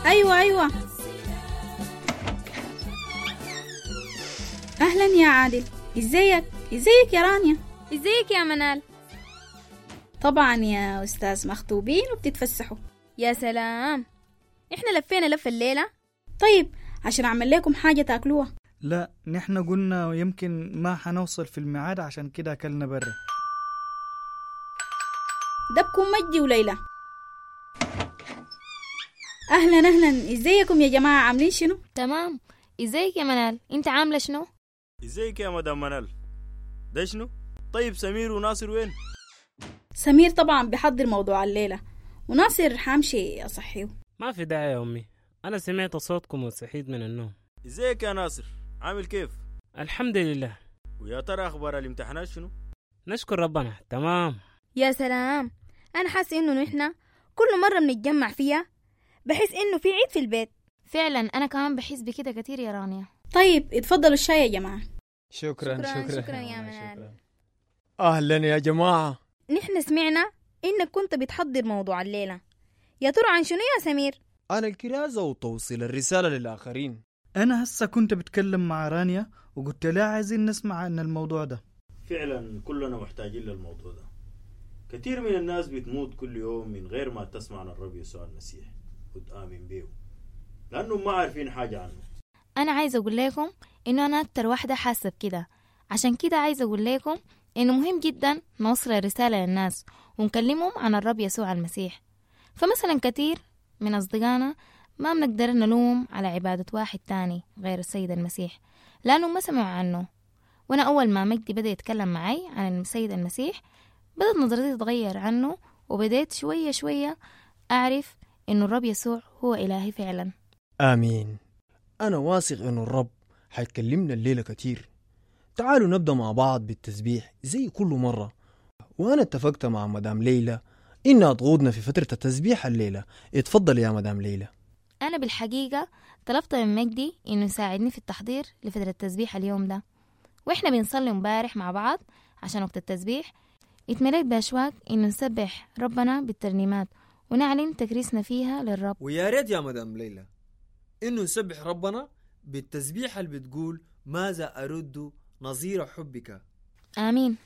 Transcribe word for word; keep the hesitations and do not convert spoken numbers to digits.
أيوة أيوة. أهلا يا عادل، إزيك؟ إزيك يا رانيا؟ إزيك يا منال؟ طبعا يا أستاذ، مخطوبين وبتتفسحوا. يا سلام، إحنا لفينا لفة الليلة. طيب عشان أعمل لكم حاجة تاكلوها. لا، نحن قلنا يمكن ما حنوصل في الميعاد، عشان كده أكلنا برا. ده بكون مجدي وليلى. أهلا أهلا، إزيكم يا جماعة، عاملين شنو؟ تمام. إزيك يا منال، أنت عاملة شنو؟ إزيك يا مدام منال، ده شنو؟ طيب سمير وناصر وين؟ سمير طبعا بيحضر موضوع الليلة، وناصر حامشي أصحيه. ما في داعي يا أمي، أنا سمعت صوتكم وصحيت من النوم. إزيك يا ناصر، عامل كيف؟ الحمد لله. ويا ترى أخبار الامتحانات شنو؟ نشكر ربنا، تمام. يا سلام، أنا حاسة إنه نحن كل مرة بنتجمع فيها بحس إنه في عيد في البيت. فعلا أنا كمان بحس بكده كتير يا رانيا. طيب اتفضلوا الشاي يا جماعة. شكرا شكرا شكرا, شكرا يا منال. أهلا يا جماعة. نحن سمعنا إنك كنت بتحضر موضوع الليلة، يا ترى عن شنو يا سمير؟ عن الكرازة وتوصيل الرسالة للآخرين. أنا هسه كنت بتكلم مع رانيا وقلت لها عايزين نسمع عن الموضوع ده. فعلا كلنا محتاجين للموضوع ده. كثير من الناس بتموت كل يوم من غير ما تسمع عن الرب يسوع المسيح وتآمن به، لأنهم ما عارفين حاجة عنه. أنا عايزة أقول لكم إنه أنا أكتر واحدة حاسة بكده، عشان كده عايزة أقول لكم إنه مهم جدا نوصل الرسالة للناس ونكلمهم عن الرب يسوع المسيح. فمثلا كثير من أصدقائنا ما بنقدر نلوم على عبادة واحد تاني غير السيد المسيح، لأنه ما سمعوا عنه. وأنا أول ما مجدي بدأ يتكلم معي عن السيد المسيح بدأت نظرتي تتغير عنه، وبدأت شوية شوية أعرف إنه الرب يسوع هو إلهي فعلا. آمين. أنا واثق إنه الرب حيكلمنا الليلة كتير. تعالوا نبدأ مع بعض بالتسبيح زي كل مرة. وأنا اتفقت مع مدام ليلى إنها تقودنا في فترة التسبيح الليلة. اتفضل يا مدام ليلى. أنا بالحقيقة طلبت من مجدي إنه يساعدني في التحضير لفترة التسبيح اليوم ده، وإحنا بنصلي مبارح مع بعض عشان وقت التسبيح اتمليت بأشواق إنه نسبح ربنا بالترنيمات ونعلن تكريسنا فيها للرب. ويا ريت يا مدام ليلى إنه نسبح ربنا بالتسبيح اللي بتقول ماذا أرد نظير حبك. آمين.